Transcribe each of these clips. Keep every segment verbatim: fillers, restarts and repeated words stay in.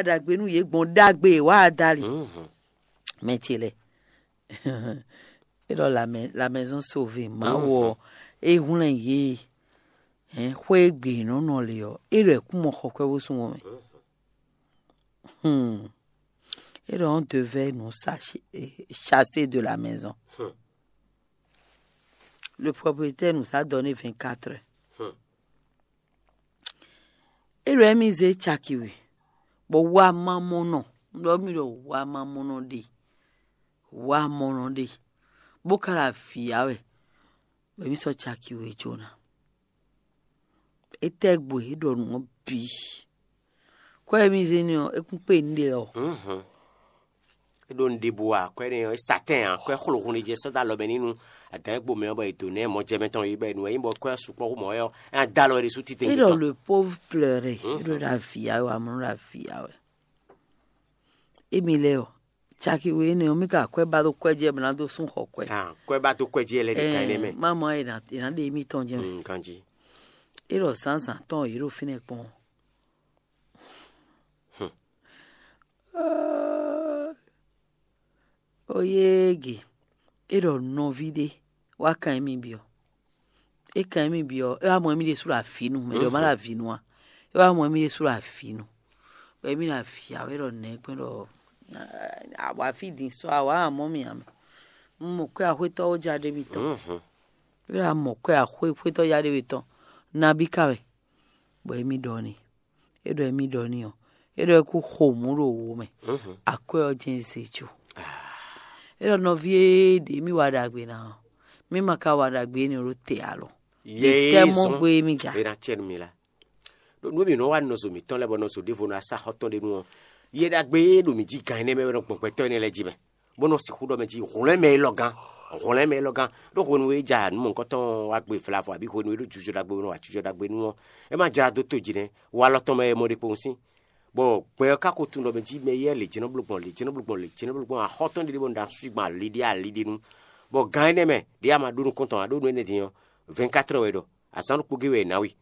ɖagbe nú yě gbɔn ɖagbe e wǎ dali. Mɛ ce lɛ́ɛ, é ɖɔ la maison sauvé, Mawu ɔ́, é hwlɛ́n yě hɛn xwé e gbe yě nɔ nɔ le ɔ́, é ɖɔ è kún mɔ xɔ kwɛ́ bó sú wɔn mɛ. Hmm. É ɖɔ on devait nous chasser de la maison. Le propriétaire nous a donné vingt-quatre heures. É ɖɔ émí zé caki we, bɔ wamamɔnɔ, ɖɔ mì ɖɔ wamamɔnɔ ɖe, wamɔnɔ ɖe, bó ka ɖo avǐ ya wɛ, bɔ émí sɔ́ caki we jó ná. Étɛ́ gbo é ɖɔ nǔ ɔ́ bǐ? Kwɛ́ e mì zé n'i ɔ́, é kún kpé nǔɖé ɔ́. É ɖo nǔɖé bú ǎ, kwɛ́ énɛ́ ɔ́, é sa tɛ́n ǎ, kwɛ́ xlo hun ɖé jɛ sɔ́ dó alɔ mɛ n'i nú adǎn e gbo mɛ ɔ́, bɔ è dǒ nɛ́ mɔjɛmɛ tɔn yí, bɔ è nǔ wɛ nyí bɔ kwɛ́ ɔ́ sukpɔ́ xú mɔ̌ wɛ ɔ́, é ná dó alɔ ɖé sú titewungbe. É ɖɔ le pauvre pleurer, é ɖo ɖo avǐ ya wɛ, amlɔ ɖo avǐ ya wɛ. Émi lɛ́ɛ ɔ́, caki we énɛ́ ɔ́, mì ka kwɛ́ ba dó kwɛ́ jɛ bɔ ná dó sún xɔ kwɛ́. Ah, kwɛ́ ba dó kwɛ́ jɛ lɛ́ ɖe ka énɛ́ mɛ. Má mɔ è nǎ è nǎ ɖe émítɔn jɛ́n mɛ. Mm, ganjí. É ɖɔ zǎnzǎn tɔn yě ɖo fínɛ́ kpɔ́n. Hmm. Oyéegi, é ɖɔ nɔví ɖé wá kan émí byɔ́. É kan émí byɔ́, é wá mɔ émí ɖésú ɖo avǐ nu, mɛ ɖě ɔ́ má ɖo avǐ nu ǎ. É wá mɔ émí ɖésú ɖo avǐ nu, bɔ émí ɖo avǐ ǎ, é ɖɔ nɛ̌ gbɛ́ ɖɔ, awǎ fí din sɔ́ awǎ amɔ̌ mì ǎ mɛ. Un mɔ kwɛ́ axwétɔ́ ó já ɖé mitɔn. É ɖɔ a mɔ kwɛ́ axwé xwétɔ́ já ɖé mitɔn, nabí ka wɛ? Bɔ émí ɖɔ n'i. É ɖɔ émí ɖɔ n'i ɔ́, é ɖɔ é kú xo mǔ ɖo wo mɛ. Akwɛ́ ɔ́ jɛ́n zé jó. É ɖɔ nɔví e ɖě mì wa ɖagbe ná ɔ́, mì ma ka wa ɖagbe énɛ́ ɖó te alɔ. Yě tɛ́ mɔ gbé mì ja. É ná cɛ nú mi lá. Ɖó nǔ e mǐ nɔ wa nɔ zo mǐtɔn lɛ́ɛ bɔ nɔ zo ɖěvo nɔ asá xɔ tɔn ɖé nu ɔ́, yɛ ɖagbe e ɖo mǐ jí gan énɛ́ mɛ wɛ nɔ gbɔn gbɛtɔ́ énɛ́ lɛ́ɛ jí mɛ, bó nɔ sixú ɖɔ mɛ jí hwlɛ́n mɛ élɔ́ gán, hwlɛ́n mɛ élɔ́ gán. Ɖó hwenu e ja nǔ mɔ̌hunkɔtɔn wá gbe vlavo, abǐ hwenu e ɖó jujɔ ɖagbe bó nɔ wa jujɔ ɖagbe nu ɔ́, é ma jlá dó to jí nɛ́, walɔ tɔn mɛ wɛ mɔ ɖe kpowun sín. Bɔ gbɛ ɔ́ ka ko tunwun ɖɔ mɛ jí mɛ éyɛ́ lě jɛ́n nɔ bló gbɔn, lě jɛ́n nɔ bló gbɔn, lě jɛ́n nɔ bló gbɔn, axɔ́ tɔn ɖé ɖé bɔ un ɖo asú gban ali ɖé ali ɖé nu. Bɔ gan énɛ́ mɛ ɖě a ma ɖó nukɔn tɔn ǎ, ɖó nǔ énɛ́ din ɔ́, vɛ̌nkátrɔ wɛ ɖɔ, azǎn ɖokpó gé wɛ è nǎ we.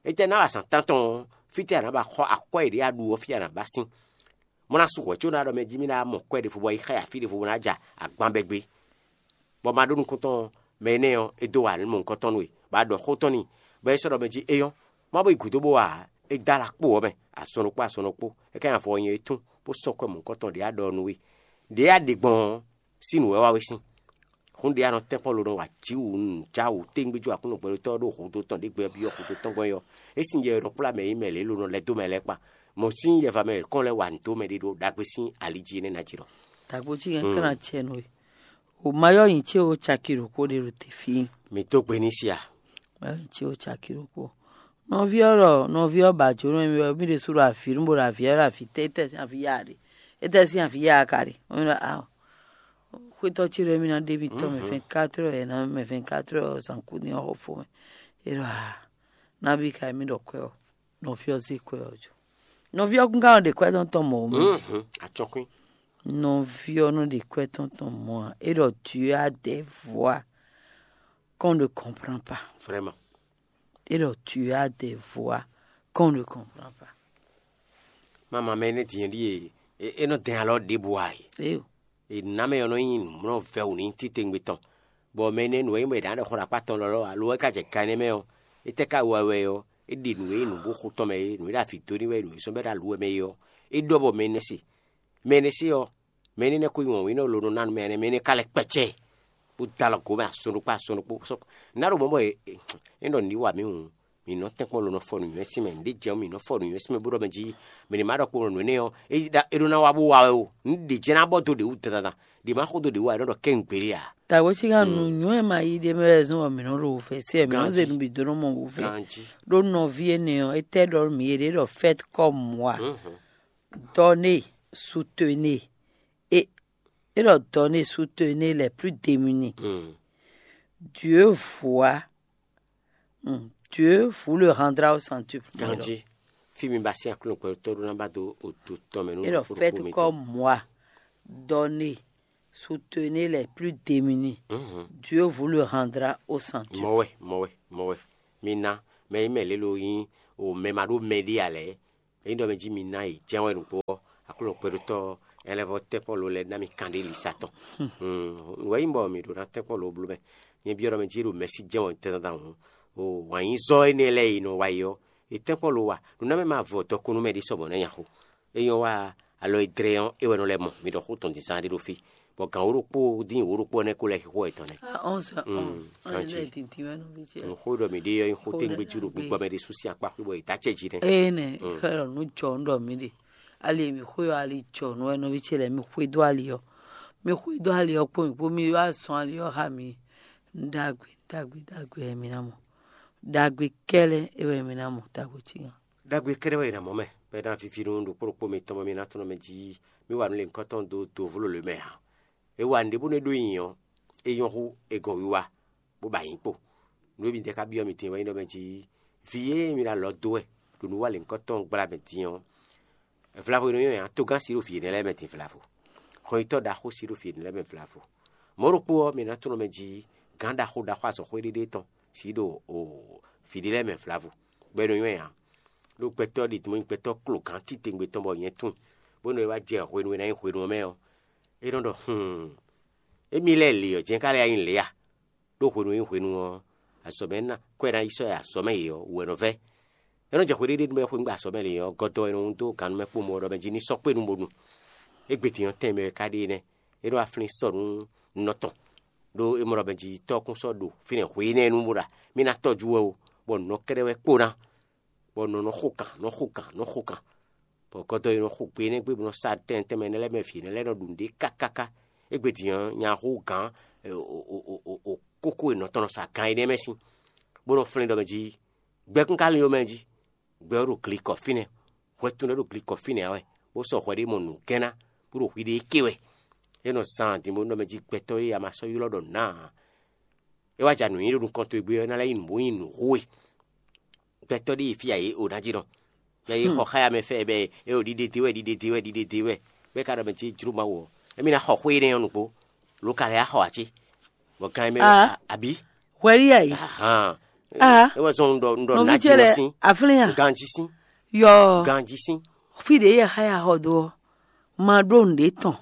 Étɛ́ ná wa azǎn tántɔn ɔ́, fítɛ́ a nǎ ba xɔ akwɛ́ e ɖě a ɖu ɔ́ fí a nǎ ba sín? Mɔ ná sú hwɛ̌ có ná ɖɔ mɛ jí mì ná mɔ kwɛ́ ɖěvo bɔ é xá yi afí ɖěvo bó ná ja agban bɛ́ gbé. Bɔ ma ɖó nukɔn tɔn mɛ énɛ́ ɔ́, é dó wa mɔ nukɔn tɔn nú we, bɔ a ɖɔ xó tɔn n'i, bɔ é sɔ́ ɖɔ mɛ jí é nyɔ́. Má bo yi gǔdo bó wa ǎ, é dó alɔ kpó ɔ́ mɛ, azɔn ɖokpó azɔn ɖokpó, é ka nyi avɔ nyɛ é tún, bó sɔ́ kwɛ́ mɔ̌hunkɔtɔn ɖě a ɖɔ ɔ́ nú we. Ɖě a ɖe gbɔn ɔ́, sín nǔ wɛ wá we sín. Hún ɖě a nɔ tɛ́nkpɔ́n lo nɔ wa jǐ wǔ nǔ já wǔ téngbéjú Aklúnɔ gbɛɖótɔ́ ɔ́ ɖo hǔdo tɔn ɖě gbɛ byɔ́ hǔdo tɔn gbɔn é ɔ́, é sín yɛ e nɔ kplá mɛ e nyí mɛ lě lo nɔ lɛ́ dó mɛ lɛ́ɛ kpa. Mɔ̌ sín yɛva mɛ yětɔn lɛ́ɛ wa nǔ dó mɛ ɖé ɖo ɖagbe sín ali jí énɛ́ ná jí ɖɔ. Tagbo cí kɛn ká ná cɛ nú we. O mayɔ nyi ce o caki ɖokpó ɖe ɖo te fí. Mi dó gbe ní sí a? Mayɔ nyi ce o caki ɖokpó. Nɔví ɔ́ ɖɔ nɔví ɔ́ ba jǒnɔ mi wɛ mí ɖésú ɖo avǐ nú bo ɖo avǐ ɔ́ ɖo avǐ tɛ́ tɛ́ sín avǐ ya ɖe. É tɛ́ sín avǐ ya ka ɖe. Xwétɔ́ ce ɖɔ émí ná ɖe émítɔn mɛ vingt-quatre heures, ná mɛ vingt-quatre heures zǎnkú ní ɔ́ xo fó mɛ. É ɖɔ aa, nábí ka émí ɖɔ kwɛ́ ɔ́, nɔví ɔ́ zé kwɛ́ ɔ́ jó. Nɔví ɔ́ kún ka nɔ ɖe kwɛ́ tɔn tɔn mɔ̌ mɛ. Acɔkwín. Nɔví ɔ́ nɔ ɖe kwɛ́ tɔn tɔn mɔ̌ ǎ. É ɖɔ Dieu a des voies qu'on ne comprend pas. Vraiment. É ɖɔ Dieu a des voies qu'on ne comprend pas. Mama mɛ énɛ́ din ɖíe é nɔ dɛn alɔ ɖěbǔ ǎ é. Éyo. È nǎ mɛ ɔ́ nɔ nyí nǔmlɔ́ vɛ́wǔ ní títewungbe tɔn, bɔ mɛ énɛ́ nǔ e nyí bɔ è nǎ ɖɔ xó ɖo akpá tɔn lɔlɔ́ alo é ka jɛ gan énɛ́ mɛ ɔ́, é tɛ́ ka wa wɛ ɔ́, é ɖi nǔ e nyí nǔ bó xo tɔn mɛ é, nǔ e ɖo avǐ dó n'i wɛ, nǔ e sɔ́ bɛ́ ɖo alǔ wɛ mɛ é ɔ́, é ɖɔ bɔ mɛ énɛ́ se. Mɛ énɛ́ se ɔ́, mɛ énɛ́ nɛ́ ko nyí wɔ̌nwínnɔ lo nɔ ná nú mɛ énɛ́, mɛ énɛ́ ka lɛ́ kpɛ́cɛ́, bó dó alɔ gǒ mɛ azɔn ɖokpó azɔn ɖokpó. Sɔ́ ná ɖo mɔ̌ bɔ é ɖɔ nǔ ní wa mǐ hǔn, mǐ nɔ tɛ́nkpɔ́n lo nɔ fɔ nǔnywɛ́ sín mɛ, nǔɖé jɛ ɔ́ mǐ nɔ fɔ nǔnywɛ́ sín mɛ bó ɖɔ mɛ jí mɛ ɖě ma ɖɔ kpo nǔ énɛ́ ɔ́, é ɖó ná wá bó wa wɛ o. Nǔ ɖě jɛ́n ná bɔ dó ɖě wú dandan, ɖě ma xo dó ɖě wú ǎ, é nɔ ɖɔ kɛ́n nǔgbélé ǎ. Tagbo cí ká nǔnywɛ́ ma yí ɖé mɛ wɛ zɔ́n bɔ mǐ nɔ ɖo wǔvɛ́ sí wɛ, mǐ nɔ zé nǔ bǐ dó nɔ mɔ wǔvɛ́. Ɖó nɔví énɛ́ ɔ́, é tɛ́ ɖɔ mǐ yě ɖé ɖɔ fɛ́t kɔ́ mɔ̌ ǎ. Donner, soutenir. Et, et leur donner, soutenir les plus démunis. Dieu voit, hmm, Dieu vous le rendra au centuple. Ganji, fí mi ba sín aklúnɔ pɛ́lú tɔ́ ɖó ná ba dó oto tɔn mɛ nú. Et leur faites comme moi, donner, soutenir les plus démunis. Dieu vous le rendra au centuple. Mɔwɛ, mɔwɛ, mɔwɛ. Mi ná mɛ yi mɛ lélo yín o mɛ ma ɖó mɛ ɖé alɛ. Ényí ɖɔ mɛ jí mi ná yi jɛ́n wɛ nǔgbó ɔ́, Aklúnɔ kpɛɖótɔ́ ɔ́, é lɛ́ vɔ́ tɛ́nkpɔ́n lo lɛ́ɛ ná mi kanɖé lisa tɔn. Wɛ̌ nyí bɔ mǐ ɖó ná tɛ́nkpɔ́n lo bló mɛ. Nyɛ byɔ́ ɖɔ mɛ jí ɖo mɛ̌si jɛ́n wɛ tɛ́ntan hǔn, o wǎnyízɔ́ énɛ́ lɛ́ɛ e nɔ wa yi ɔ́, è tɛ́nkpɔ́n lo wa. Nǔ ná mɛ ma vɔ dɔkun nú mɛ ɖé sɔmɔ̌ ná nya xo. É nyɔ́ wa alɔ e dlɛ́ ɔ́, é wɛ nɔ lɛ́ mɔ. Mi ɖɔ xó tɔn din zán ɖé ɖó fí, bɔ gǎn wǒ ɖokpó dín wǒ ɖokpó ɔ́ nɛ́ kó lɛ́ xixo wɛ tɔn nɛ́. Ah, onze heures onze. Nǔ xó ɖɔ mǐ ɖe ɔ́ nyí xó tégbé jú ɖo gbígbɔ mɛ ɖé sú sín akpá xwé bɔ è dǎ acɛ jí nɛ́. Ée nɛ xlɛ́ ɖɔ nǔ jɔ nǔ ɖɔ mǐ ɖe. Ali e mǐ xwe ɔ́, ali jɔ nǔ wɛ nɔví ce lɛ́ɛ, mi xwedó ali ɔ́. Mi xwedó ali ɔ́ kpó mǐ kpó, mi wá zɔn ali ɔ́ xá mǐ. Nǔ ɖagbe ɖagbe ɖagbe wɛ mi ná mɔ. Ɖagbe kɛ́lɛ́ é wɛ mi ná mɔ, tago cí gán. Ɖagbe kɛ́ɖɛ́ wɛ è nǎ mɔ mɛ, bɔ é ná víví nú ɖokpó ɖokpó mitɔn bɔ mi ná tunwun mɛ jí mì wa nǔ lěhunkɔtɔn dó do vló lě mɛ ǎ. È wa nǔɖé bónú é ɖó nyi ɔ́, é nyɔ́ hú è gɔn wiwa, bó ba nyǐ kpo. Nǔ e mi dɛ ka byɔ́ mi din wɛ nyí ɖɔ mɛ jí vǐ e mi ɖo alɔ dó wɛ ɖo nǔ wa lěhunkɔtɔn gbla mɛ din ɔ́, vlavo e nɔ nyɔ́ nya togán si ɖo vǐ énɛ́ lɛ́ɛ mɛ din vlavo. Hɔnyitɔ́ ɖaxó si ɖo vǐ énɛ́ lɛ́ɛ mɛ vlavo. Mɔ̌ ɖokpó ɔ́, mi ná tunwun mɛ jí gǎn ɖaxó ɖaxó azɔ̌xwé ɖé ɖé tɔn si ɖo vǐ ɖé lɛ́ɛ mɛ vlavo, bɔ é nɔ nyɔ́ nya. Ɖó gbɛtɔ́ ɖi mɔ nyí gbɛtɔ́ klogán titewungbe tɔn bɔ nyɛ tunwun, bónú é wá jɛ hwenu e ná nyí hwenu ɔ́ mɛ ɔ́, é nɔ ɖɔ: "Hun, émí lɛ́ɛ lě ɔ́ jɛ́n ka lɛ́ nyí lě a?" Ɖó hwenu e nyí hwenu ɔ́, azɔ̌ mɛ ná kɔ́ e ná yi sɔ́ azɔ̌ mɛ yě ɔ́ wú wɛ nɔ vɛ́. É nɔ jɛ hwe ɖé ɖé nú mɛ xwé nú azɔ̌ mɛ lě ɔ́, gɔ́dɔ e nɔ dó gannú mɛ kpó mɔ ɔ́ ɖɔ mɛ jí ní sɔ́ kpé nú bónu. Égbé din ɔ́, tɛn mɛ wɛ ka ɖe énɛ́. É nɔ wá flín sɔ́ nú nɔ tɔn. Ɖó é mɔ ɖɔ mɛ jí tɔ́ kún sɔ́ ɖo fínɛ́ hwe énɛ́ nu bó ɖɔ: "Mì ná tɔ́jú wɛ o, bɔ nǔ nɔ kɛ́ɖɛ́ wɛ kpó ná." Bɔ nɔ nɔ xo kan, nɔ xo kan, nɔ xo kan. Bɔ gɔdɔ e nɔ xo gbe énɛ́ gbe bó nɔ sa tɛn tɛnmɛ énɛ́ lɛ́ɛ mɛ vǐ énɛ́ lɛ́ɛ nɔ ɖu nǔɖé kákáká. Égbé din ɔ́, nya xo gǎn kókó e nɔ tɔn nɔ sa gan énɛ́ mɛ sín, bó nɔ flɛ́n ɖɔ mɛ jí: "Gbɛkún ka lin ó mɛ jí, gbɛ ɔ́ ɖo glikɔ fínɛ́, hwɛ tɔn lɛ́ɛ ɖo glikɔ fínɛ́ ǎ wɛ, bó sɔ́ hwɛ ɖé mɔ nǔgɛ́nná, bó ɖo hwiɖée ké wɛ." É nɔ zan din bó nɔ mɛ jí gbɛtɔ́ e a ma sɔ́ ylɔ́ ɖɔ nǎ ǎ. É wá ja nǔ nyi ɖo nukɔn towe gbé ɔ́, é ná lɛ́ nyí nǔ bó nyí nǔ xó we. Gbɛtɔ́ ɖé yi fí a yě o ná jí nɔ. Yɛ yě xɔ xá ya mɛ fɛ bɛ é o ɖiɖe dé wɛ, ɖiɖe dé wɛ, ɖiɖe dé wɛ. Bɛ́ ka ɖɔ mɛ jí jló Mawu ɔ́, émí ná xɔ xwé énɛ́ ɔ́ nukpó, lo ka lɛ́ yá xɔ ǎ cé? Bɔ gan e mɛ Ah. Abǐ? Hwɛɖí a yě? Ahan. Ah. É wɛ zɔn un ɖɔ un ɖɔ Nɔví nǎ ce jí lɛ nɔ sín. Aflín a? Ganjí sín. Yɔ. Ganjí sín. Fí ɖě yɛ xá ya xɔ dó ɔ́, ma ɖó nǔɖé tɔn.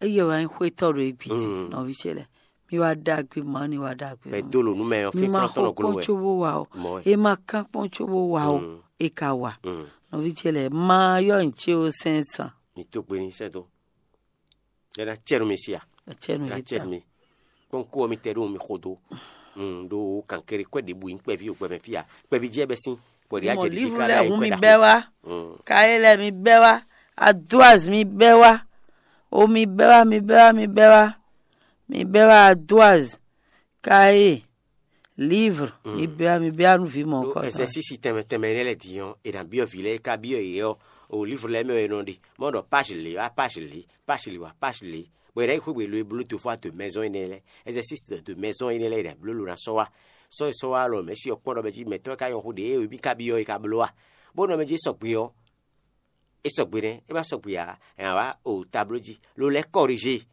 Eye wɛ nyí xwétɔ́ ɖo égbé jí, Mm. Nɔví ce lɛ. Mi wá ɖagbe, ma ní wá ɖagbe. Bɛ dó lò nú mɛ ɔ́, Mi ma fínflɔ́n tɔn xɔ nɔ gló kpɔ́n wɛ. Có bó wa o. Mɔ̌ wɛ. E ma kán kpɔ́n có bó wa o. Mm. E ka wa. Mm. Nɔví ce lɛ, ma yɔ nyi ce o sɛn san. Mi tó gbe ní sɛ́ dó. Yɛ ná cɛ nú mi sí a? Acɛ nu Yɛ ná yě cɛ ta. Nú mi. Kpɔ́n kó ɔ́ mi tɛ ɖó mi xo dó. Mm, ɖó kankéré kwɛ ɖě bu nyí kpɛví o gbɛmɛ fí a? Kpɛví jẹ́ bɛ sín. Bɔ ɖě Mɔ ajɛ ɖě jí lívu ká lɛ lɛ hu hu mi bɛ wá. Mm. Kaye lɛ mi bɛ wá. Adoaz mi bɛ wá. O mi bɛ wá, mi bɛ wá, mi bɛ wá. Mi bɛ wá Adoaz. Kaye. Livre. Mm. Mi bɛ wá, mi bɛ wá nu vi mɔ Ɖó kɔ. Ɛsɛsísi tɛnmɛ tɛnmɛ énɛ́ lɛ́ɛ din ɔ́, è nǎ byɔ́ vǐ lɛ́ɛ, é ka byɔ́ yě ɔ́, o livre lɛ́ɛ mɛ wɛ è nɔ ɖe. Mɔ ɖɔ page lě wá page lě, page lě wá page lě. Bɔ è nǎ yi xwé gbe lo e bló do fɔ de maison énɛ́ lɛ́ɛ, exercice de maison énɛ́ lɛ́ɛ è nǎ bló lo ná sɔ́ wá. Sɔ́ e sɔ́ wá lɔ mɛ̌si ɔ́ kpɔ́n ɖɔ mɛ jí mɛ̌tɔ́ e ka nyɔ́ xó ɖě e mí ka byɔ́ é ka bló a? Bó nɔ mɛ jí sɔgbe ɔ́, é sɔgbe nɛ́, é ma sɔgbe ǎ, è nǎ wá o tablo jí, lo lɛ́ kɔriže.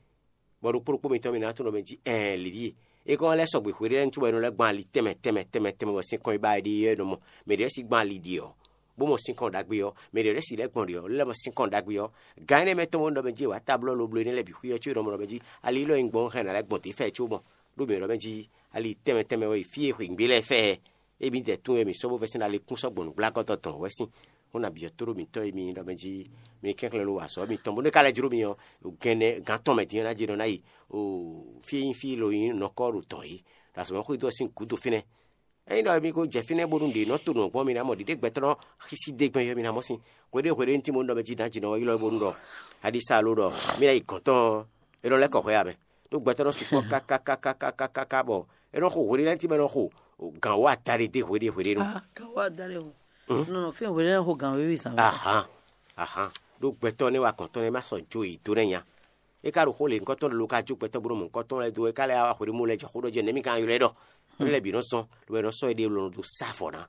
Bɔ ɖokpó ɖokpó mitɔn mi ná tunwun ɖɔ mɛ jí ɛɛn lǐɖíe. É kɔn lɛ́ sɔgbe hweɖé lɛ́ɛ nú cóbɔ é nɔ lɛ́ gbɔn ali tɛnmɛ tɛnmɛ tɛnmɛ tɛnmɛ bɔ sinkɔn e ba wɛ ɖe é nɔ mɔ. Mɛ ɖě si gbɔn ali ɖi ɔ́, bó mɔ sinkɔn ɖagbe ɔ́, mɛ ɖě lɛ́ si lɛ́ gbɔn ɖi ɔ́, lɛ́ mɔ sinkɔn ɖagbe ɔ́. Gan énɛ́ mɛ tɔn bó nɔ ɖɔ mɛ jí è wǎ ta blɔ́ loblo énɛ́ lɛ́ɛ bǐ xwí ɔ́ có è nɔ mɔ ɖɔ mɛ jí ali élɔ́ e un gbɔn hɛn ná lɛ́ gbɔn dě fɛ có mɔ. Ɖó mǐ ɖɔ mɛ jí ali tɛnmɛ tɛnmɛ wɛ yi fí e xweyǐgbe lɛ́ɛ fɛ. Émí dɛ tún wɛ mǐ sɔ́ bó vɛ́ sín ali kún sɔ́ gbɔn nǔgblágɔ́tɔ́ tɔn wɛ sín. Xó nabǐ ɔ́ tóɖó mǐtɔn e mi nyí ɖɔ mɛ jí mi kɛnklɛ́n lo wa azɔ̌ mitɔn bónú é ka lɛ́ jló mi ɔ́, gɛnɛ gǎn tɔn mɛ din ɔ́ ná jɛ nɔ ná yi o fí e nyí fí e lo nyí nɔkɔ́ ɖo tɔn é, ɖo azɔ̌ mɛ xwedó ɔ́ sín gǔdo fínɛ́. Ényí ɖɔ mi ko jɛ fínɛ́ bónú ɖě nɔ to nǔ ɔ́ gbɔn mi ná mɔ ɖiɖé gbɛtɔ́ nɔ xísí dé gbɛn yɔ mi ná mɔ sín. Hweɖé hweɖé ní tín bónú ɖɔ mɛ jí nǎ jǐ nɔ ylɔ́ bónú ɖɔ aɖisa lo ɖɔ mí ná yi gɔ̌n tɔn ɔ́, é nɔ lɛ́ kɔ hwɛ ǎ mɛ. Ɖó gbɛtɔ́ nɔ sukpɔ́ kákákákákáká bɔ é nɔ xo hweɖé lɛ́ɛ tɛ́ mɛ nɔ xo gǎn wó adaɖé dé hweɖé hweɖé nu. Ah, gǎn wó adaɖé o. Hmm? Nɔ nɔ fɛn hweɖé lɛ́ɛ xo gǎn wéwe zǎn wɛ. Ahan, ahan. Ɖó gbɛtɔ́ nɛ́ wa gɔ̌n tɔn nɛ́ ma sɔ jo yi dó nɛ́ nya. É ka ɖo xó lě ŋkɔtɔn ɖé lo ka jó gbɛtɔ́ bó nɔ mɔ ŋkɔtɔn lɛ́ɛ dó é ka lɛ́ wá hweɖé mɔ lɛ́ jɛ xó ɖɔ jɛ nɛ̌ mi ka ylɔ́ ɛ ɖɔ. Nú lɛ́ɛ bǐ nɔ zɔn, lobo è nɔ sɔ́ éɖée lɔ dó sá vɔ̌ ná.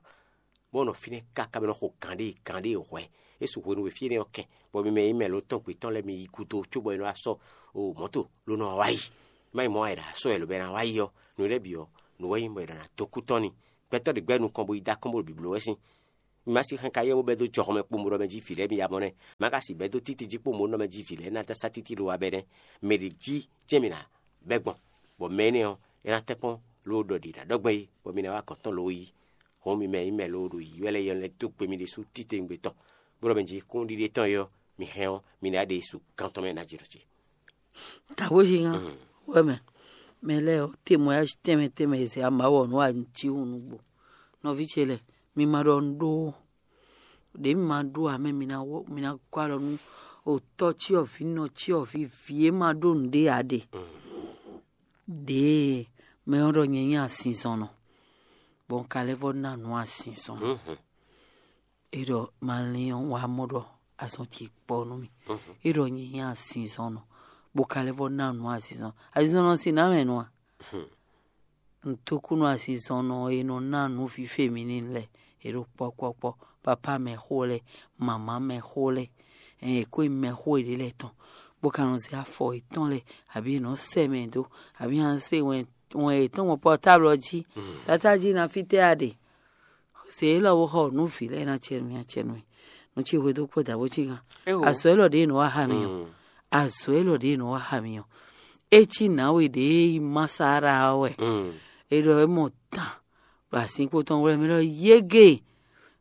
Bó nɔ fínɛ́ káká bɔ é nɔ xo gǎn ɖé gǎn ɖé hwɛ̌. É su hwenu e fí énɛ́ ɔ́ kɛn, bɔ mi mɛ e nyí mɛ lǒtɔn gbětɔn lɛ́ɛ mi yi gúdo cóbɔ è nɔ wá sɔ́ o mɔ̌to ló nɔ wá yi. Má nyí mɔ̌ wá è ɖo asɔ́ wɛ lǒ bɔ è nǎ wá yi ɔ́, nǔ lɛ́ɛ bǐ ɔ́, nǔ wɛ nyí bɔ è nɔ ná dó kú tɔn n'i. Gbɛtɔ́ ɖě gbɛ́ nukɔn bo yi dó akɔ́n bó ɖo bǐbló wɛ sín. Mi ma si xɛn ka yɛ bó bɛ́ dó jɔhɔn mɛ kpombo ɖɔ mɛ jí vǐ lɛ́ɛ mi ya mɔ nɛ́. Ma ka si bɛ́ dó títí jí kpombo nɔ mɛ jí vǐ lɛ́ɛ ná dó sá títí ɖo wa bɛ́ nɛ́. Mɛ ɖě jí jɛ́n mi ná bɛ́ gbɔn, bɔ mɛ énɛ́ ɔ́, é ná tɛ́nkpɔ́n lóó ɖɔ ɖě ná ɖɔ gbɛn é, bɔ mi ná wá gɔ̌n tɔn lóó yí. Hɔn mi mɛ nyí mɛ lóó ɖo yǐyɔ́ lɛ́ɛ yɔ lɛ́ dó gbe mi ɖésú títewungbe tɔn, bó ɖɔ mɛ jí kúnɖiɖe tɔn é ɔ́, mi hɛn ɔ́, mi ná ɖe su gán tɔn mɛ ná jɛ ɖɔ ce. Taxwézingán wɛ mɛ, mɛ lɛ́ɛ ɔ́, témoignage tɛnmɛ tɛnmɛ e zɛ amawɔ nú anjihun nǔgbó. Nɔví ce lɛ́ɛ, mi ma ɖɔ un ɖó ó. Ɖě mi ma ɖó ǎ mɛ, mi ná wɔ mi ná gɔ́ alɔ nú otɔ́ cyɔ́vǐ, nɔ cyɔ́vǐ, vǐ e ma ɖó nǔɖé ǎ ɖe. Ɖěe mɛ ɔ́ ɖɔ nyɛ nyí azinzɔnnɔ, bɔ un ka lɛ́ vɔ́ ná nǔ azinzɔnnɔ. É ɖɔ ma lin ɔ́, wǎ mɔ ɖɔ azɔn ce kpɔ nú mì. É ɖɔ nyɛ nyí azinzɔnnɔ, bó ka lɛ́ vɔ́ ná nǔ azinzɔnnɔ. Azinzɔnnɔ sín nǎ mɛ nɔ a? Nǔtúkúnú azinzɔnnɔ e nɔ ná nǔ fífé mǐ n'i lɛ́ɛ, è ɖo kpɔ́kpɔ́kpɔ́, papá mɛxó lɛ́ɛ, mamǎ mɛxó lɛ́ɛ, ɛn è kó nyí mɛxó yěɖée lɛ́ɛ tɔn, bó ka nɔ zé afɔ yětɔn lɛ́ɛ, abǐ è nɔ sɛ mɛ dó, abǐ a nɔ se wɛn wɛn yětɔn gbɔn pɔtáblɔ jí. Tatájí ná fítɛ́ a ɖe? Zě élɔ́ wó xɔ nǔ vǐ lɛ́ɛ ná cɛ nú mì, acɛ nú mì. Nú ce hwedó kpɔ́ dǎ bó cí gán. Azɔ̌ élɔ́ ɖě nɔ wá xa mì ɔ́, azɔ̌ élɔ́ ɖě nɔ wá xa mì ɔ́, é cí nǎwe ɖě yi Masára ɔ́ wɛ. É ɖɔ é mɔ tán ɖo azinkpo tɔn wlɛ́ mɛ ɖɔ yége,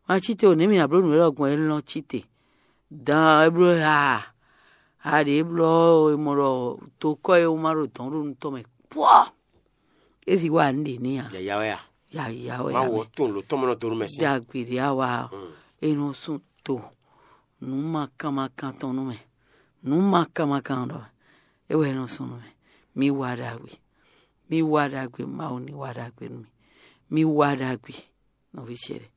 ma cí te o, nɛ̌ mì nǎ bló nǔ élɔ́ gbɔn é lɔ́n cí te. Dan é bló aa, a ɖě blɔ́ é mɔ ɖɔ tokɔ́ e wú ma ɖo dɔ̌n ɖo nú tɔn mɛ kpɔ́. É si wá nǔ ɖě n'i a? Yǎyá wɛ a? Yǎyá wɛ a? Má wɔ tún lǒ tɔn mɔ nɔ dó nú mɛ sín. Ɖagbe ɖě a wa ɔ́, é nɔ sún to nǔ ma kan ma kan tɔn nú mɛ. Nǔ ma kan ma kan ɖɔ é wɛ é nɔ sún nú mɛ. Mi wa ɖagbe. Mi wa ɖagbe. Mawu ní wa ɖagbe nú mi. Mi wa ɖagbe. Nɔví ce lɛ́ɛ,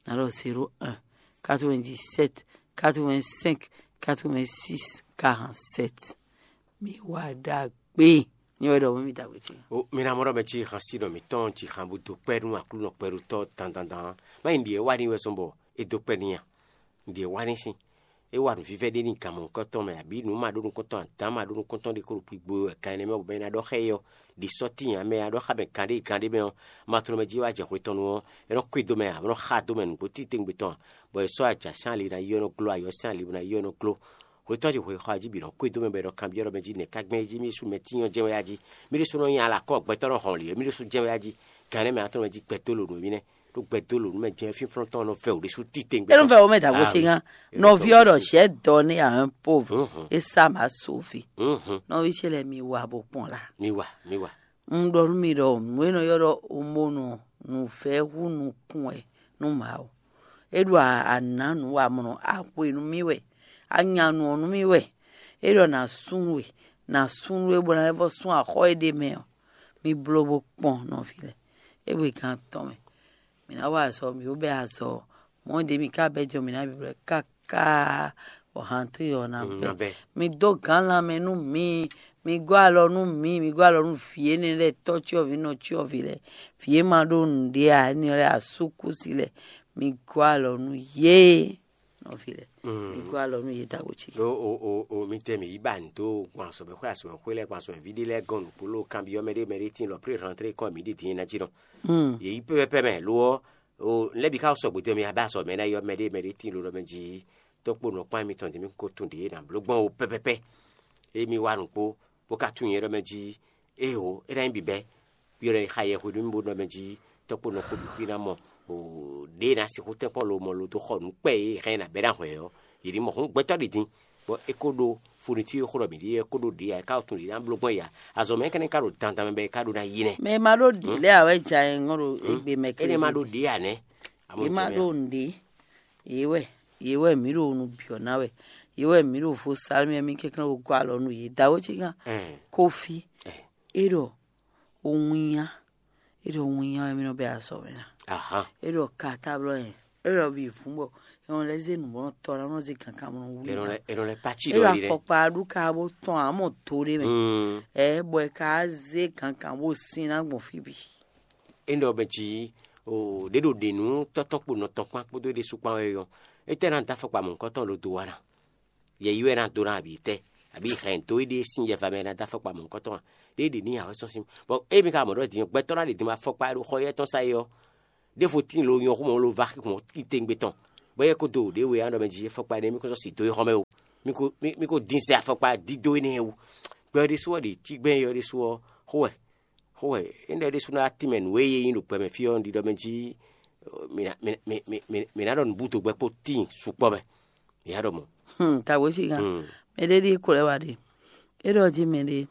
ná ɖɔ zéro un, quatre-vingt-dix-sept, quatre-vingt-cinq, quatre-vingt-six, quarante-sept. Mi wa ɖagbe. Nyɛ wɛ ɖɔ mi da gbe ce. O mi na mɔ ɖɔ mɛ ci han si nɔ mǐtɔn ci han bó dó kpɛ́ nú Aklúnɔ kpɛɖotɔ́ dandandan. Má nyí ɖiɛ wá ní wɛ sɔn bɔ é dó kpɛ́ n'i a? Ɖiɛ wá ní sín. É wa nǔvívɛ́ ɖé n'i gǎnmɔ nukɔntɔn mɛ, abǐ nǔ ma ɖó nukɔntɔn adǎn ma ɖó nukɔntɔn ɖé kó ɖo kpigbo wɛ kan énɛ́ mɛ bɔ mɛ ná ɖɔ xá yɔ ɖi sɔ́ tíin ǎ mɛ ná ɖɔ xá mɛ kan ɖé kan ɖé mɛ ɔ́, ma tló mɛ jí wá jɛ hwe tɔn nu ɔ́, é nɔ kwído mɛ ǎ, bó nɔ xa dó mɛ nǔgbó titewungbe tɔn ǎ, bɔ è sɔ́ ajǎ sín ali ná yi ɔ́ nɔ gló, ayɔ sín ali ná yi ɔ́ nɔ gló. Hwetɔ́ ce hwexɔ jí bǐ nɔ kwído mɛ bɔ è nɔ kanbyɔ́ ɖɔ mɛ jí nɛ̌ ka gbɛn é jí mì ɖésú mɛ tínyɔ́ jɛ́n wɛ a jí? Mì ɖésú nɔ nyi alakɔ́ gbɛtɔ́ nɔ hɔn lě é mì ɖésú jɛ́n wɛ a jí? Gan énɛ́ mɛ ná tló mɛ jí gbɛdó lǒ nú émí nɛ́. Ɖó gbɛdó lǒ nú mɛ jɛ́n fínflɔ́n tɔn nɔ vɛ wǔ ɖésú titewungbe. É nɔ vɛ wú mɛ dǎgbó ce gán. Nɔví ɔ́ ɖɔ sɛ̌ dɔ n'i ǎ un pauvre, é sá mǎ sóvi. Nɔví ce lɛ́ɛ mi wa bó kpɔn la. Mi wa, mi wa. Un ɖɔ nú mi ɖɔ nǔ e nɔ ylɔ́ ɖɔ omonɔ nǔvɛ́ hú nukún wɛ nú Mawu. É ɖo anǎ nǔwamlɔ axwe nú mì wɛ, anyanu ɔ́ nú mì wɛ. É ɖɔ nǎ súnnu we, nǎ súnnu we bó ná lɛ́ vɔ́ sún axɔ́ e ɖ'é mɛ ɔ́, mi bló bó kpɔ́n nɔví lɛ́ɛ. Égbé gan tɔn mɛ, mǐ ná wa azɔ̌, mǐ ko bɛ́ azɔ̌, mɔ̌ ɖě mǐ ka bɛ́ jɔ mǐ ná bǐblɔ́ káká bɔ hantí ɔ́ ná bɛ́. Mi dó gǎn lanmɛ nú mǐ, mi gɔ́ alɔ nú mǐ, mi gɔ́ alɔ nú vǐ énɛ́ lɛ́ɛ, tɔ́ cyɔ́vǐ, nɔ cyɔ́vǐ lɛ́ɛ, vǐ e ma ɖó nǔɖé ǎ énɛ́ lɛ́ɛ, asúkúsi lɛ́ɛ, mi gɔ́ alɔ nú yě. Nɔví lɛ́ɛ, mi gɔ́ alɔ nú yě dǎgbó ce. O o o o mi tɛ mǐ yi ba nǔ dó gbɔn azɔ̌mɛxwé azɔ̌mɛxwé lɛ́ɛ gbɔn azɔ̌mɛví ɖé lɛ́ɛ gɔ́n nǔgbó ló kanbyɔ́ mɛ ɖé mɛ ɖé tíin lɔ plé rantré kɔn mǐ ɖi din ná jí nɔ. Yě yi pɛpɛpɛ mɛ lo ɔ́, o lɛ́ bǐ ká sɔgbe dó mɛ abɛ azɔ̌ mɛ ná yɔ mɛ ɖé mɛ ɖé tíin lo ɖɔ mɛ jí tɔ́kpó nɔ kpán mitɔn din mì ko tún ɖě ná bló gbɔn o pɛpɛpɛ. Emi wa nǔgbó bó ka tún nyɛ ɖɔ mɛ jí, ée o é ná nyí bǐbɛ́. Yɔ ɖɔ xa yɛ hwenu mì bó nɔ mɛ jí tɔ́kpó nɔ kpó bǐ xwí ná mɔ ɖě ná sixú tɛ́nkpɔ́n lo mɔ lo dó xɔ nǔ kpɛ́ e hɛn ná bɛ́ ná hwɛ ɔ́, yě ní mɔ hǔn gbɛtɔ́ ɖi din, bɔ é kó ɖó funu tí é xó ɖɔ mǐ ɖíe é kó ɖó ɖě ǎ, é ká tunwun ɖě ná bló gbɔn ya. Azɔ̌ mɛ énɛ́ ka ɖo dandan mɛ bɔ é ka ɖó ná yi nɛ́. Mɛ e ma ɖó ɖě lɛ́ɛ ǎ wɛ ja nyɛ ŋɔ́ ɖo égbé mɛ. Énɛ́ ma ɖó ɖě ǎ nɛ́. Yě ma ɖó nǔɖé. Yě wɛ, yě wɛ mǐ ɖo nu byɔ̌ ná wɛ. Yě wɛ mǐ ɖo vo salmɛ mì kɛnklɛ́n wo gɔ́ alɔ nú yě. Dǎwe ce gán. Kofi. É ɖɔ winnyá. É ɖɔ winnyá wɛ mì nɔ bɛ azɔ̌ mɛ ná. É ɖɔ katáblɔ́ nyɛ. É ɖɔ bǐ vún bɔ è nɔ lɛ́ zé nǔ bɔ nɔ tɔ ná nɔ zé kankan bɔ nɔ wlí ná. È nɔ lɛ́ pátí é ɖɔ ɖɔ yi lɛ́. Afɔkpa ɖu ka bó tɔn ǎ mɔ do ɖé mɛ. Ɛ bɔ è ka zé kankan bó sin ná gbɔn fí bǐ. É ɖɔ mɛ jí o ɖě ɖo ɖě nú tɔ́tɔ́ kpo nɔ tɔn kpán kpódó é ɖésú kpán wɛ ɔ́, étɛ́ ná dó afɔkpa mɔ̌hunkɔtɔn ɖo do wa ná? Yɛ yi wɛ ná dó ná abǐ tɛ́, abǐ hɛn dó éɖée sín yɛva mɛ ná dó afɔkpa mɔ̌hunkɔtɔn a? Ɖé ɖě ní awɛ sɔ́ sín. Bɔ émi ka mɔ ɖɔ din gbɛtɔ́ ná ɖe din afɔkpa e ɖo xɔ yɛ tɔn sa é ɔ́, ɖěvo tíin lo nyɔ xó mɔ lo va xixɔn titewungbe tɔn, bɔ é ko dó ɖě we ɔ́ ɖɔ mɛ jí afɔkpa énɛ́ mì ko sɔ́ si dó é xɔ́mɛ o, mì ko mì mì ko dín sɛ afɔkpa dídó énɛ́ wú. Gbɛ ɔ́ ɖésú wɛ ɖe tígbɛ́n é ɔ́ ɖésú ɔ́, xó wɛ xó wɛ é ɖɔ ɖésú ná tínmɛ nǔ e yé nyí ɖo gbɛ mɛ fí ɔ́, un ɖiɖɔ mɛ jí mǐ ná mǐ ná- mǐ- mǐ- mǐ- mǐ ná ɖɔ nǔbúdo gbɛ kpó tíin sukpɔ́ mɛ. Mǐ ná ɖɔ mɔ̌. Hmm, tawe sigan. Hmm. Mɛɖé ɖi ko lɛ wa ɖe. É ɖɔ jí mɛɖé.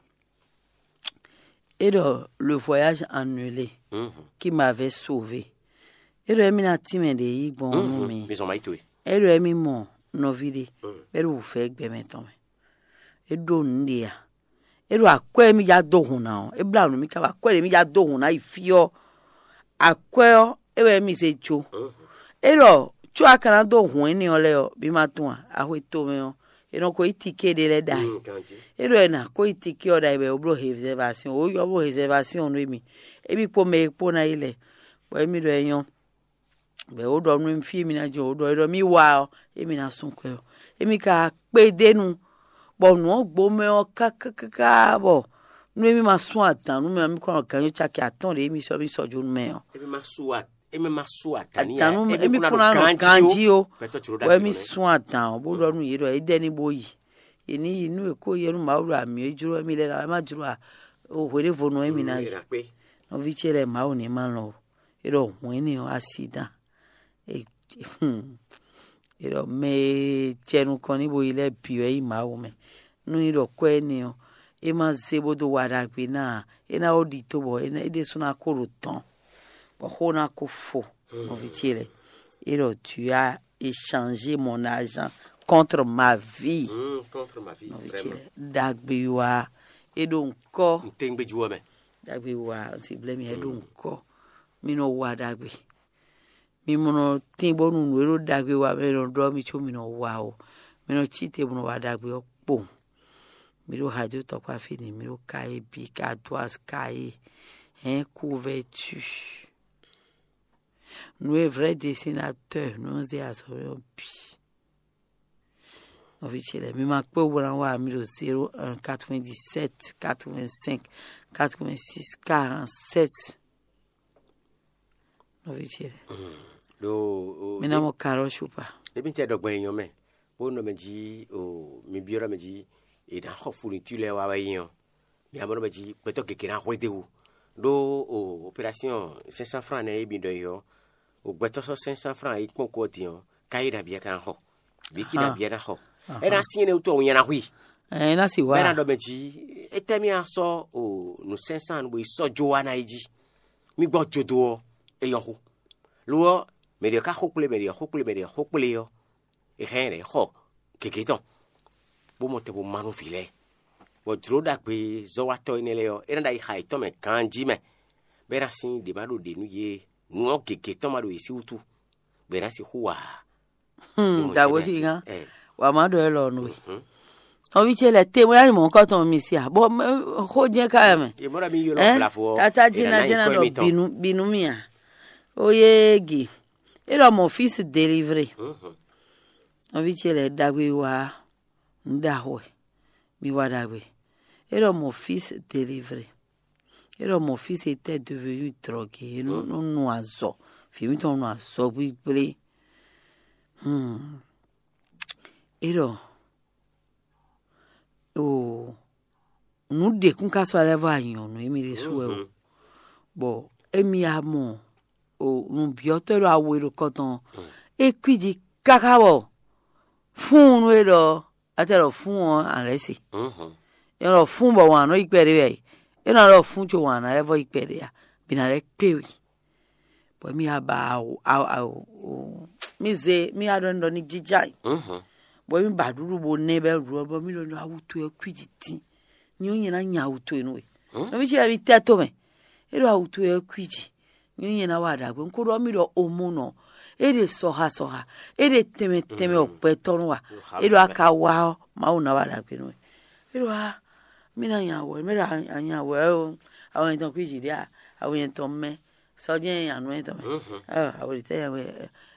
É ɖɔ le voyage annulé. Mhm. Qui m'avait sauvé. É ɖɔ émí ná tínmɛ ɖě yí gbɔn nú Mhm. mi. Mi zɔn ma yi towe. É ɖɔ émí mɔ nɔví ɖé. Mhm. É ɖo wǔfɛ gbɛmɛ tɔn mɛ. É ɖo nǔ ɖé a. É ɖo akwɛ́ émí já dó hǔn ná ɔ́. É blá nǔ mì ká bɔ akwɛ́ ɖě émí já dó hǔn ná yi fí ɔ́. Akwɛ́ ɔ́, é wɛ émí zé jó. Mhm. É ɖɔ có a ka ná dó hǔn énɛ́ ɔ́ lɛ́ɛ ɔ́, mi ma tunwun a? Axwe tomɛ ɔ́, è nɔ ko yí tiké ɖé lɛ́ɛ ɖ'ayǐ. Mm, ganjí. É ɖɔ è nǎ ko yí tiké ɔ́ ɖ'ayǐ bɔ è ko bló réservation, wǒ yɔ bló réservation nú émí. Émí kpó mɛ e kpó ná yi lɛ́ɛ, bɔ émí ɖɔ é nyɔ́. Bɔ è wǒ ɖɔ nú émí fí émí ná jɛ wǒ ɖɔ é ɖɔ mì wá ɔ́, émí ná sú kwɛ ɔ́. Émí ka kpédénu, bɔ nǔ ɔ́ gbo mɛ ɔ́ kákákáká bɔ nú émí ma sú adǎn nú mɛ ɔ́, mí kɔn nɔ gǎnjó caki atɔ́ɔ́n ɖě émí sɔ́ mí sɔ́ jó nú mɛ ɔ́. Émí ma sú a- émí ma sú adǎn ní Adǎn nú émí kúnná nɔ ganjí ó. Émí kúnná nɔ ganjí ó. Gbɛtɔ́ tso ɖó Bɔ ɖagbe émí nɔ ɛ. Sú adǎn ɔ́, bó ɖɔ nú yě ɖɔ é dɛ́ ní bó yi. Yě ní yi nú è kó yɛ nú Mawu ɖo amǐ é jló émí lɛ́ɛ ná wɛ é má jló a o hweɖévonu émí ná yi. Nɔví ce lɛ́ɛ Mawu ní ma lɔn o. É ɖɔ hwɛ̌n énɛ́ ɔ́, asi dán. É é ɖɔ mɛ e jɛ nukɔn n'i bo yi lɛ́ɛ bǐ wɛ nyí Mawu mɛ. Nú é ɖɔ kwɛ́ énɛ́ ɔ́, é ma zé bó dó wa ɖagbe ná ǎ. É ná ko ɖi tó bɔ é ná- é ɖésú ná ko ɖo tɔn, bɔ xó ná ko fo nɔví ce lɛ́ɛ. É ɖɔ tu as échangé mon argent contre ma vie. Mm, contre ma vie. Nɔví ce Vraiment. Lɛ́ɛ ɖagbe wa é ɖo ŋkɔ. N tɛ́ngbéjú ɔ́ mɛ. Ɖagbe wa n si blɛ́ mi é ɖo ŋkɔ. Mi nɔ wa ɖagbe. Mi mɔ nɔ tín bónú nǔ e ɖo ɖagbe wa mɛ nɔ ɖɔ mi có mi nɔ wa o. Mi nɔ cí te bó nɔ wa ɖagbe ɔ́ kpowun. Mi ɖo hajo tɔkpá fínɛ́, mi ɖo kaye bǐ, kadoaz kaye, hɛn couverture. Nǔ e vrai dessinateur nɔ zé azɔ̌ ɔ́ bǐ. Nɔví ce lɛ́ɛ, mi ma kpé wú bó ná wa mi ɖo zéro un quatre-vingt-dix-sept quatre-vingt-cinq quatre-vingt-six quarante-sept. Nɔví ce lɛ́ɛ, Ɖo mi ná mɔ karɔ supa. Ebi tɛ ɖɔ gbɛn nyɔ mɛ, bó nɔ mɛ jí o mi byɔ́ mɛ jí e ná xɔ fourniture lɛ́ɛ wá wɛ nyɔ. Mi amɔ nɔ mɛ jí gbɛtɔ́ gěgé ná hwedéwu. Ɖó o opération cinq cents francs nɛ e mi ɖɔ yi ɔ́, o gbɛtɔ́ sɔ́ cinq cents francs yi kpɔ́n kú ɔ́ din ɔ́, ká yi ɖo abǐ ɛ ká ná xɔ. Bǐ kí ɖo abǐ ɛ ná xɔ. É ná sín énɛ́ wútu ɔ́, wun nya ná hu i. Ɛ ná si wá. Bɛ́ ná ɖɔ mɛ jí, étɛ́ mì a sɔ́ o nǔ cinq cents bó yi sɔ́ jó wá ná yi jí. Mì gbɔ jodo ɔ́, é nyɔ́ xó. Lo ɔ́, mɛ ɖě ká xó kplé, mɛ ɖě xó kplé, mɛ ɖě xó kplé ɔ́, è hɛn ɖě xɔ gěgé tɔn, bó mɔ tɛn bó ma nú vǐ lɛ́ɛ. Bɔ jlǒ ɖagbe zɔ́watɔ́ énɛ́ lɛ́ɛ ɔ́, é ná ɖo ayixa yětɔn mɛ ganjí mɛ, bɔ é ná sín ɖě ma ɖo ɖě nú yě, nǔ ɔ́ gěgé tɔn ma ɖo yě sí wútu, bɔ è nǎ sixú wa. Hmm, Ɖo mɔ̌ dǎwe ce ɖɔ sí ǎ gán. Ɛ, Wǎ má ɖɔ élɔ́ nú we. Mhm. Nɔví ce lɛ́ɛ te wɛ nyí mɔ̌hunkɔtɔn mi sí ǎ, bɔ xó jɛ́n ká yɛ mɛ. Yě mɔ ɖɔ mi ylɔ́ Ɛ? Vlavo ɔ́, Tata è nǎ ná jina nyí jina kɔ ɖɔ émítɔn. Binu binu mì ǎ. Ó yé gi. É ɖɔ mon fils délivré. Mhm. Nɔví ce lɛ́ɛ ɖagbe wá nǔ ɖaxó wɛ. Mi wá ɖagbe. É ɖɔ mon fils délivré. É ɖɔ mon fils était devenu drogué. É nɔ nɔ nu azɔ. Vǐ mitɔn nɔ azɔ gbígblé. Hmm. É ɖɔ o nǔ ɖě kún ka sɔ́ lɛ́ vɔ anyɔ̌nu émí ɖésú wɛ o. Mhm. Bɔ émí ya mɔ o nǔbyɔ́tɔ́ e ɖo awu e ɖo kɔ tɔn ɔ́, é kwíji káká bɔ fúnnu e ɖɔ atɛ ɖɔ fún ɔ́, a lɛ́ se. Mhm. É ɖɔ fún bɔ wǎn nɔ yi kpɛɖé wɛ. É nɔ ɖɔ fún co wǎn ná lɛ́ vɔ yi kpɛɖé a, bǐ ná lɛ́ kpé we. Bɔ mì ya ba awu awu awu o, mì zé mì ya ɖɔ nɔ ní jija yi. Mhm. Bɔ mì ba ɖuɖu bo nɛ bɛ ɖu ɔ, bɔ mì ɖɔ nɔ awu towe kwíji tín. Nyɔ nyɛ ná nya awu towe nú we. Mhm. Nɔ mì cí mi tɛ to mɛ. É ɖo awu towe kwíji. Nyɔ nyɛ ná wa ɖagbe. Un ko ɖɔ mì ɖɔ omo nɔ. É ɖe sɔha sɔha. É ɖe tɛnmɛ tɛnmɛ ɔkpɛtɔ nú wa. É ɖo aka wa ɔ, Mawu ná wa ɖagbe nú we. É ɖo a mì ná nya wɔ, mì ɖo a nya wɔ ɛ o. Awu yɛn tɔn kwíji ɖe a, awu yɛn tɔn mɛ. Sɔjɛ nya nú yɛn tɔn mɛ. Mhm. Ɛ, awu ɖe tɛ nya wɛ.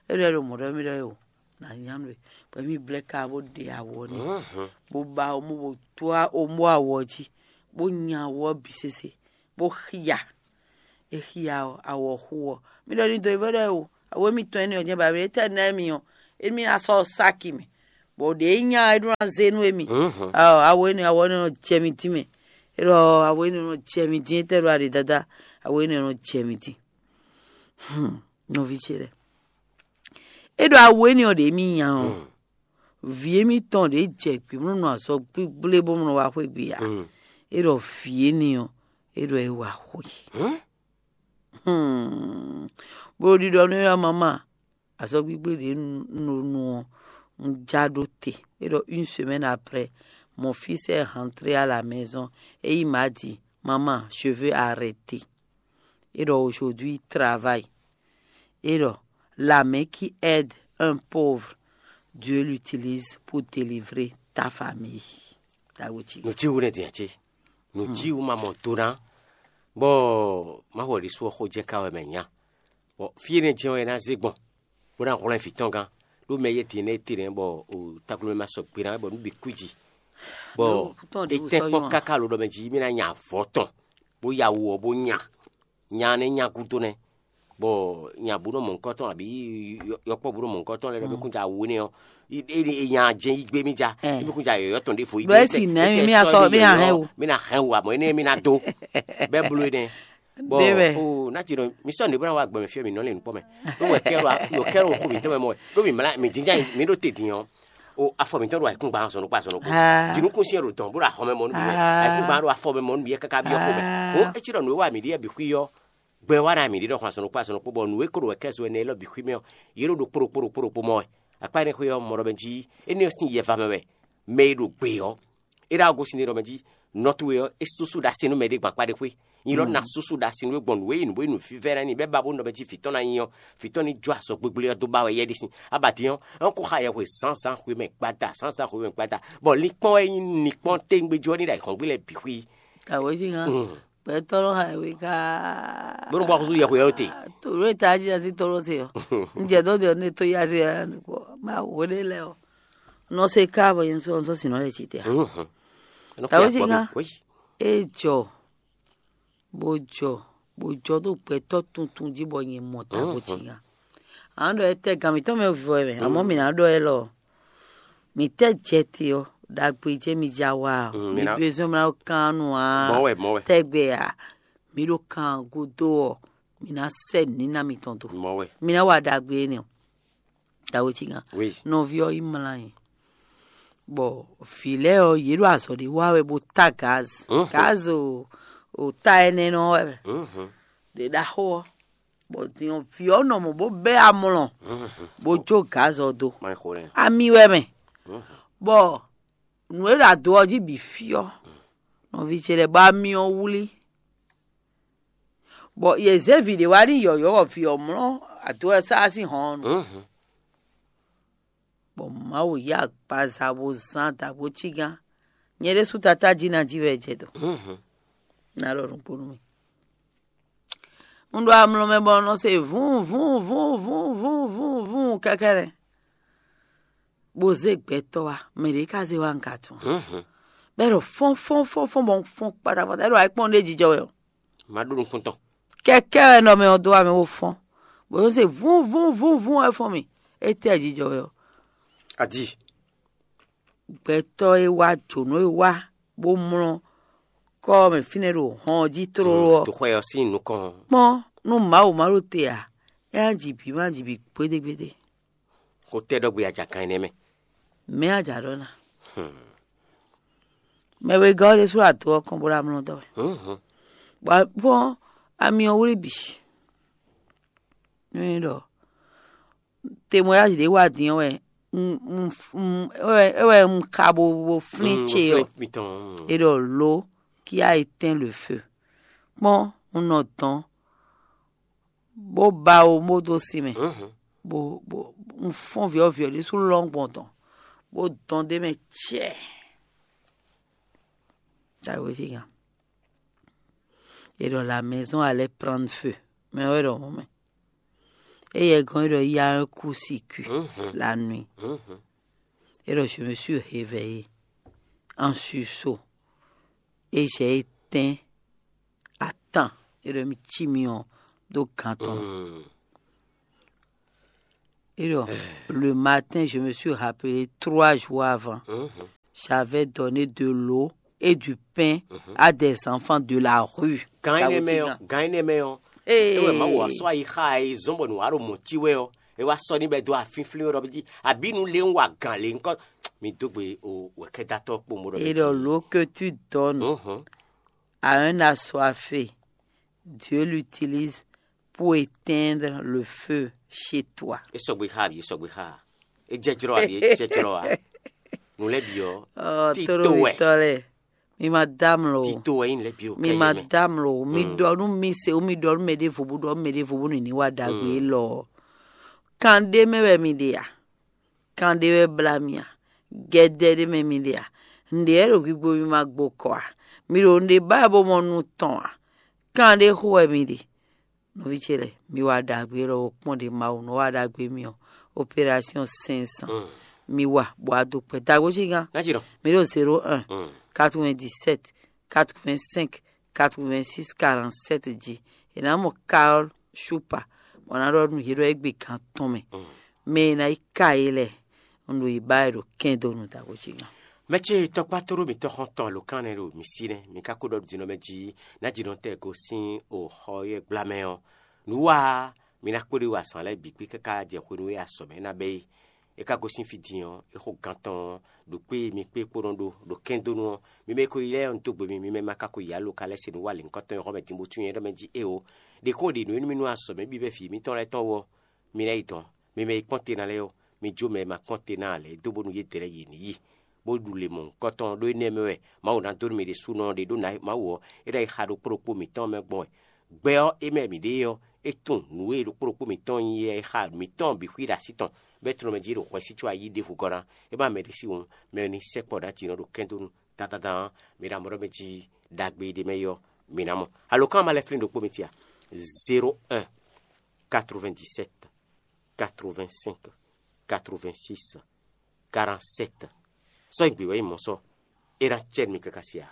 É ɖo ɛ ɖo mɔ ɖɔ mì ɖɔ ɛ o. Na nya nú we. Bɔ mì blɛ ka bó ɖe awɔ nɛ. Mhm. Bó ba omo bó tó omo awɔ jí. Bó nya awɔ bǐ sese. Bó xia. É xia ɔ́, awɔ xú ɔ́, mi ɖɔ ní do yi vɔ ɖɔ o, awu émítɔn énɛ́ ɔ́ jɛ́n ba mɛ, étɛ́ ná émí ɔ́, émí ná sɔ́ sáki mɛ, bɔ ɖě nya é ɖó ná zé nú émí. Awu énɛ́, awu énɛ́ nɔ jɛ mi dín mɛ. É ɖɔ awu énɛ́ nɔ jɛ mi dín, étɛ́ ɖo aɖě dáadáa, awu énɛ́ nɔ jɛ mi dín. Nɔví ce lɛ́ɛ, é ɖɔ awu énɛ́ ɔ́ ɖě émí nya ɔ́, vǐ émítɔn ɖě jɛ gbě mlɔ́ nɔ azɔ̌ gbígblé bó mlɔ́ wá xwé gbe ǎ. É ɖɔ vǐ énɛ́ ɔ́, é ɖɔ é wá xwé. Bó ɖiɖɔ nú éyɔ́ mama, azɔ́gbígbé ɖě un ɖo nu ɔ́, un já ɖó te. É ɖɔ une semaine après, mon fils est rentré à la maison et il m'a dit, maman, je veux arrêter. É ɖɔ aujourd'hui travail. É ɖɔ la main qui aide un pauvre, Dieu l'utilise pour délivrer ta famille. Tawo ci. Nǔjíwú nɛ́ din ǎ cé? Nǔjíwú ma mɔ do ná, bɔ Mawu ɔ́ ɖésú ɔ́ xó jɛ ká wɛ mɛ nya. Bɔ fí énɛ́ jɛ́n wɛ é ná zé gbɔn, bó ná hwlɛ́n vǐ tɔn gán, ɖó mɛ yɛ́tɛn énɛ́ é te nɛ́ bɔ taklomɛ ma sɔgbe ná wɛ bɔ nǔ bǐ kú jí. Bɔ é tɛ́n kpɔ́n káká lo ɖɔ mɛ jí mí ná nya avɔ tɔn, bó ya wu ɔ́ bó nya, nya nɛ́ nya gúdo nɛ́, bɔ nya bú nɔ mɔ nukɔn tɔn abǐ yɔkpɔ́ bú nɔ mɔ nukɔn tɔn lɛ́ɛ ɖɔ mí kún ja wu énɛ́ ɔ́, é nya jɛ́n yí gbé mí ja, mí kún ja yɔ̌yɔ́ tɔn ɖěvo yí. Ɖɔ é si nɛ̌ mì mí asɔ mí ahɛn o. Mí ná hɛn wu amɔ̌ énɛ́ mí ná dó bɛ́ bló énɛ́. Bɔ o ná ci nɔ mi sɔ́ nǔ bó ná wá gbɛ mɛ fí ɔ́ mi nɔ lɛ nukpɔ́ mɛ. Ɖó wɛ kɛ ɖo wɛ kɛ ɖo xo mǐtɔn mɛ mɔ wɛ. Ɖó mi mlá mi jínjá mi ɖó te din ɔ́. O afɔ mǐtɔn ɖo ayǐkúngban zɔn ɖokpó azɔn ɖokpó. Jǐnukúnsin ɖo dɔn bó ɖo axɔ mɛ mɔ nú mi wɛ. Ayǐkúngban ɖo afɔ mɛ mɔ nú mi wɛ káká byɔ́ xo mɛ. O é cí ɖɔ nǔ e wa mǐ ɖe yɛ bǐ xwí ɔ́, gbɛ wa ná mǐ ɖe ɖɔ xɔ azɔn ɖokpó azɔn ɖokpó bɔ nǔ e ko ɖo wɛ kɛ zo ɛnɛ élɔ́ bǐ xwí mɛ ɔ́, yě ɖo ɖokpó ɖokpó ɖokpó ɖokpó mɔ wɛ. Akpá énɛ́ xwé ɔ́ mɔ ɖɔ mɛ jí énɛ́ ɔ́ sín yɛ va mɛ wɛ. Mɛ e ɖo gbe ɔ́, é ɖo agosin ɖɔ mɛ jí nɔ towe ɔ́, é sú sú ɖo asi nú mɛɖé gban kpá ɖé xwé. Nyi lɔ ná sú sú ɖo asi nú é gbɔn nǔ e nyí nǔ bó nyí nǔvívɛ́ ná nyi bɛ́ ba bó nɔ mɛ jí vǐ tɔn ná nyi ɔ́, vǐ tɔn ní jó azɔ̌ gbégbé ɔ́ dó ba wɛ yɛ ɖé sin. Abadín ɔ́, é kó xa yɛhwe zǎnzǎn xwemɛ gbada, zǎnzǎn xwemɛ gbada, bɔ linkpɔ́n wɛ nyí linkpɔ́n téŋgbéjú ɔ́ ní ɖo ayǐhɔ́ngbe lɛ́ɛ bǐ xwí. Awějínga, gbɛtɔ́ nɔ xa yɛhwe ká. Bónú bɔ xúsú yɛhwe ɔ́ te. Tòló e tají así tɔ́lọ́ te ɔ́. Un jɛ dó de ɔ́ ní e tó yá se ɔ́, má wǒ ɖé lɛ́ɛ ɔ́. Nɔ se ká bɔ nyɛ sɔ́ sɔ́ sinɔ lɛ ci te. Awějínga, é jɔ bó jɔ bó jɔ ɖo gbɛtɔ́ tuntun jí bɔ nyɛ mɔ ta bó ci nya. Ǎ ɖɔ é tɛ gǎn mǐtɔn mɛ vɔ ɛ mɛ, amɔ̌ mǐ ná ɖɔ élɔ́. Mǐ tɛ jɛ te ɔ́, ɖagbe jɛ́n mi ja wa ɔ́, mi bezɔn mla kán nu ǎ. Tɛgbɛ ǎ, mi ɖo kan gúdo ɔ́, mi ná sɛ nǔníná mitɔn dó. Mi ná wa ɖagbe énɛ́ ɔ́. Tawe cí gán. Nɔví ɔ́ yi mlá nyi. Bɔ vǐ lɛ́ɛ ɔ́, yě ɖo azɔ̌ ɖé wa wɛ bó tá gaz. Gaz o o ta ɛnɛ nɔ wɛ mɛ. Ɖě ɖaxó ɔ́, bɔ din ɔ́, vǐ ɔ́ nɔ mɔ bó bɛ́ amlɔ, bó jó gaz ɔ́ dó. Ami wɛ mɛ. Bɔ nǔ e ɖo ado ɔ́ jí bǐ fí ɔ́, nɔví ce lɛ́ɛ bɔ ami ɔ́ wlí. Bɔ yě zé vǐ ɖé wá n'i yɔ̌yɔ́ bɔ vǐ ɔ́ mlɔ́ ado ɔ́ sá sín hɔn ɔ́ nu. Bɔ Mawu yí agbaza bó zán dǎgbó cígán. Nyɛ ɖésú tatá jí ná jí wɛ jɛ dɔ̌n. Ná ɖɔ nǔgbó nú mi. Un ɖo amlɔ mɛ bɔ un nɔ se vún vún vún vún vún vún vún kɛkɛ́nɛ. Bó zé gbɛtɔ́ wá, mɛ ɖě ka zé wá un ka tunwun. Bɔ é ɖɔ fɔ́n fɔ́n fɔ́n fɔ́n bɔ un fɔ́n kpatakpata, é ɖɔ ayǐkpɔ́n ɖé jijɔ wɛ ɔ́. Má ɖó nukún tɔn. Kɛkɛ́ wɛ nɔ mɛ ɔ́ dó wá mɛ bó fɔ́n, bó nɔ́ se vún vún vún vún wɛ fɔ́n mì. Étɛ́ jijɔ wɛ ɔ́? Adi. Gbɛtɔ́ e wá jǒnɔ e wá bó mlɔ́ kɔ́ ɔ́ mɛ fínɛ́ ɖo hɔn ɔ́ jí tlóló ɔ́, Toxwɛ ɔ́ sín nukɔn. Kpɔ́n nú Mawu ma ɖo te ǎ, é ná ji bǐ ma ji bǐ gbédégbédé. Xó tɛ́ ɖɔ gbé ajakan énɛ́ mɛ. Mɛ̌ a jǎ ɖɔ ná? Mɛ wegɔ́ ɔ́ ɖésú ado ɔ́ kɔn bó ɖo amlɔ dɔ́ wɛ. Bɔ kpɔ́n ami ɔ́ wlí bǐ. Nú é ɖɔ temweyázi ɖě wa din ɔ́ wɛ un- un- un- é wɛ- é wɛ un ka bo bo flín ce ɔ́. É ɖɔ lǒ kí a yi tɛ́n le feu. Kpɔ́n un nɔ dɔn bó ba wo bó dó sin mɛ, bó bó un fɔ́n vǐ ɔ́ vǐ ɔ́ ɖésú lɔ́n gbɔn dɔn, bó dɔn d'é mɛ cɛ́ɛ. Tawe sí gán. Et donc la maison allait prendre feu. Mais ouais, donc, mais. Et il y a un coup circuit la nuit. Et donc, je me suis réveillé en sursaut. Et j'ai éteint à temps É ɖɔ mi cí mi ɔ́ dó gǎn tɔn. Mm. Et donc, le matin, je me suis rappelé trois jours avant. Mhm. J'avais donné de l'eau et du pain Mhm. à des enfants de la rue. Gan Ça énɛ́ veut mɛ dire ɔ́ gan énɛ́ mɛ ɔ́ Ee. É wɛ Mawu wá sɔ́ ayi xá e zɔ́n bɔ nǔ wá ɖo mɔ̌ cí wɛ ɔ́, é wá sɔ́ ní bɛ́ dó afínflín wɛ ɖɔ jí abǐ nu lé ń wa gǎn lě ŋkɔ. Mi dó gbe o wɛ̌kɛ́datɔ́ kpowun bó ɖɔ Et donc, l'eau que tu donnes Mhm. à un assoiffé, Dieu l'utilise pour éteindre le feu chez toi. É sɔgbe xá abi é sɔgbe xá a? É jɛ jlɔ́ abi é jɛ jlɔ́ a? Nǔ lɛ́ɛ bǐ ɔ́ Oh, Tito wɛ. Tito wɛ. Mi ma dá mlɔ o. Tito wɛ nyí nǔ lɛ́ɛ bǐ o Mi kɛ́ ma yɛ mɛ. Dá mlɔ o. Mi Mm. Ɖɔ nú mi se o, mi ɖɔ nú mɛ ɖěvo bó ɖɔ nú mɛ ɖěvo bó nǐ ní wá ɖagbe Mm. élɔ́ ɔ́. Kan ɖé mɛ wɛ mi ɖe a? Kan ɖé wɛ blá mi a? Gɛdɛ ɖé mɛ mi ɖe a? Nǔɖé wɛ ɖo gbigbo mi ma gbo kɔ a? Mi ɖo nǔɖé ba wɛ bó mɔ nu tɔn a? Kan ɖé xo wɛ mi ɖe. Nɔví ce lɛ́ɛ, mi wa ɖagbe lɔ o kpɔ́n ɖě Mawu nɔ wa ɖagbe mi ɔ́, opération cinq cents. Mm. Mi wa bɔ a do kpɛ dagbo cí gán. Ná ci ɖɔ. Mi ɖo zéro un, Mm. quatre-vingt-dix-sept, quatre-vingt-cinq, quatre-vingt-six, quarante-sept jí. È nǎ mɔ Carole Shupa, bɔ ná ɖɔ nú yě ɖɔ é gbe gán tɔn mɛ. Mm. Mɛ e ná yi ka é lɛ́ɛ, un ɖo yi ba wɛ ɖo kɛn dó nu dagbo cí gán. Mɛ ce tɔkpá tóɖó mǐtɔn xɔ́ntɔn alǒkan nɛ́ ɖo mǐ sí nɛ́, mǐ ka ko ɖɔ ɖo dinɔ mɛ jí ná ji nɔ tɛ gosín o xɔ yɛ gbla mɛ ɔ́. Nǔ wa mi ná kpóɖé wa azǎn lɛ́ɛ bǐ kpé káká jɛ hwenu e azɔ̌ mɛ ná bɛ́ é. É ka gosín fí din ɔ́, é xo gán tɔn ɔ́, ɖo kpé e mi kpé kpó nɔ ɖó ɖo kɛndónú ɔ́, mi mɛ e ko yi lɛ́ɛ ɔ́, un dó gbe mi, mi mɛ ma ka ko yi alo ka lɛ́ se nǔ wa lěhunkɔtɔn e xɔ mɛ din bó tún nyɛ ɖɔ mɛ jí é o. Ɖě ko ɖe nǔ e nú mì nú azɔ̌ mɛ bǐ bɛ́ vǐ mǐtɔn lɛ́ɛ tɔn wú ɔ́, mi ná yi dɔn. Mi mɛ e kpɔ́n te ná lɛ́ɛ ɔ́, mi jó mɛ e ma kpɔ́n te ná ǎ lɛ́ɛ dó bónú yědɛɛ lɛ́ɛ yě ní yi, bó ɖu le mɔ̌hunkɔtɔn ɖó énɛ́ mɛ wɛ Mawu ná dó nú mi ɖésúnɔ ɖe ɖó Mawu ɔ́, é ná yi xa ɖo kpó ɖokpó mǐtɔn mɛ gbɔn wɛ. Gbɛ ɔ́, é mɛ mǐ ɖe é ɔ́, é tunwun nǔ e ɖokpó ɖokpó mǐtɔn nyí é xa mǐtɔn bǐ xwí ɖo así tɔn, bɔ é tlɔ́n mɛ jí ɖo hwɛsí có ayí ɖěvo gɔ́ ná. É má mɛ ɖé sí wǔ, mɛ ɔ́ ní sɛkpɔ ɖó aci nɔ ɖo kɛ́ndónú dandandan ɔ́, mi ná mɔ ɖɔ mɛ jí ɖagbe e ɖ'é mɛ é ɔ́, mi ná mɔ. Alǒkan ma lɛ́ flín ɖokpó mi tia: zéro un, quatre-vingt-dix-sept, quatre-vingt-cinq, quatre-vingt-six, quarante-sept. Sɔ́ nyi gbě wɛ nyí mɔ̌ sɔ́, é ná cɛ nú mi káká sia.